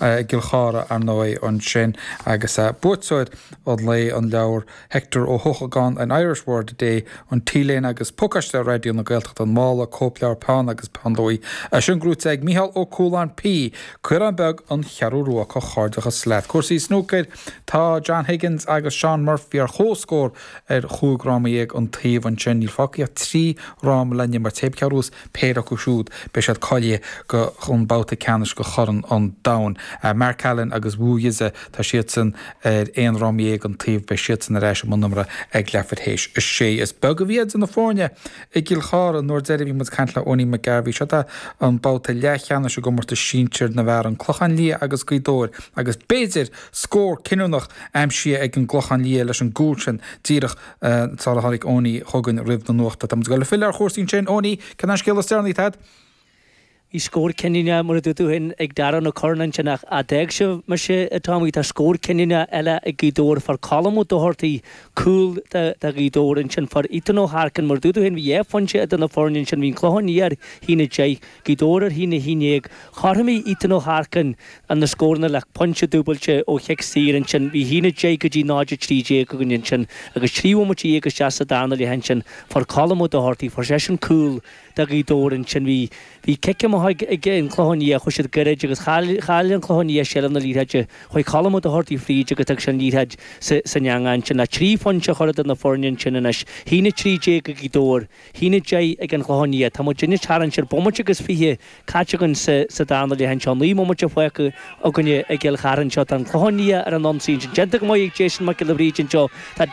I gCill Chartha, ar ndóigh, ansin agus buaiteoir an lae, an leabhar Hector Ó hEochagáin, An Irish Word a Day, an T-léine agus pacáiste Raidió na Gaeltachta, an mála, cóipleabhar, peann agus peann luaidhe. É sin gnóite ag Mícheál Ó Cualáin P. Caorán Beag, An Cheathrú Rua. Comhghairdeachas leat. Cúrsaí snúcair, Tá John Higgins agus Shaun Murphy ar comhscór ar chúig fhráma dhéag an taobh ansin. Níl fágtha ach 3 fhráma le n-imirt. Pé cé a bhuafas péire acu siúd, beidh siad cáilithe go an babhta ceannais go Chorn an Domhain. Mark Allen agus Wu Yize, tá siadsan ar aon fhráma dhéag an taobh, beidh siadsan ar ais i mbun imeartha ag leathuair théis a sé. Is beag a bhí idir na foirne i gCill Chartha an uair deiridh a bhí muid ag caint le Owenie McGarvey. Seo é an babhta leathcheannais i gcomórtas sinsir na bhfear, An Clochán Liath agus Gaoth Dobhair agus b'fhéidir scór cinniúnach aimsithe ag an gClochán Liath leis an gcúl sin díreach sar a tháinig Owenie chugainn roimh na nuachta. Tá muid ag dul ag filleadh ar chúrsaí ansin. Owenie, cén an scéal is deireanaí atá agat? Bhí scór cinniúnach, mar a dúirt tú féin, ag Darren Ó Curráin ansin ach d'fhág sibh mise, a Tommy, tá scór cinniúnach eile ag Gaoth Dobhair. Fuair Colm Ó Dochartaigh cúl do Ghaoth Dobhair ansin. Fuair Ethan Ó hEarcáin, mar a dúirt tú féin, bhí dhá phointe idir na foirne ansin. Bhí an Clochán Liath ar a haon 10, Gaoth Dobhair ar a haon 11. Chothromaigh Ethan Ó hEarcáin na scóranna le pointe dúbailte ó chic saor ansin. Bhí 1-10 go dtí 0-13 againn ansin agus 13 bhomaite isteach sa darna leath ansin fuair Colm Ó Dochartaigh, fuair seisean cúl do Ghaoth Dobhair ansin. Bhí bhí cic amach ag ag an Clochán Liath, chuaigh siad gairid agus chaill chaill an Clochán Liath seilbh na liathróide. Chuaigh Colm Ó Dochartaigh fríd agus thug sé an liathróid sa san eangach ansin le trí phointe a chur idir na foirne ansin anois. 1-13 ag Gaoth Dobhair, 1-10 ag an Chlochán Liath. Tá muid anois tarraingt ar bomaite agus 20 caite againn sa darna leath anseo. 9 mbomaite fágtha againne i gCill Chartha anseo. Tá an Clochán Liath ar an ionsaí ansin. Déanta go maith ag Jason Mac Giolla Bhríde anseo. Tá.